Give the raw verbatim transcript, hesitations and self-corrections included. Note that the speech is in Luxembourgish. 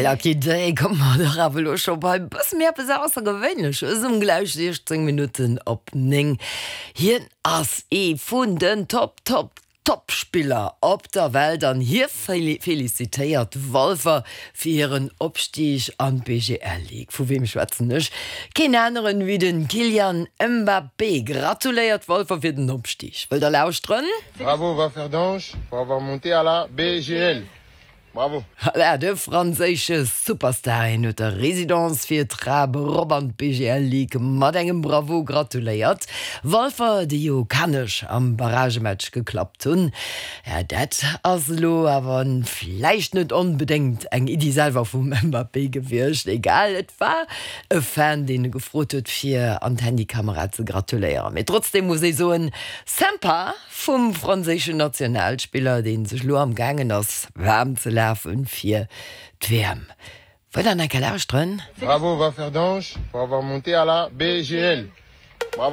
Bei Lucky Day komme mer dach awer elo scho bei bësse méi eppes Aussergewéinleches um gläich siechzéng Minutten op néng. Hien ass ee vun den Top, Top, Top-Spiller op der Welt an hie felicitéiert Walfer fir hiren Opstig an d'B G L Ligue. Vu weem schwätzen ech? Keen aneren wéi den Kylian Mbappé gratuléiert Walfer fir den Opstig. Wëllt der lauschteren? Bravo Walferdange pour avoir monté à la B G L. Bravo. Voilà, de franséische Superstar, hien huet der Résidence fir d'Trap erop an d'B G L Ligue mat engem Bravo gratuléiert. Walfer, déi jo Kanech am Barragematch geklappt hunn. Ja, dat ass elo awer vläicht net onbedéngt eng Iddi selwer vum Mbappé gewiescht. Egal, et war e Fan, deen e gefrot huet, fir an d'Handykamera ze gratuléieren. Mee trotzdeem muss ee soen, sympa vum franséischen Nationalspiller, dee sech lo am gaangen ass waarm ze lafen fir d'W M. Wëllt der nach eng Kéier lauschteren? Bravo Walferdange pour avoir monté à la B G L.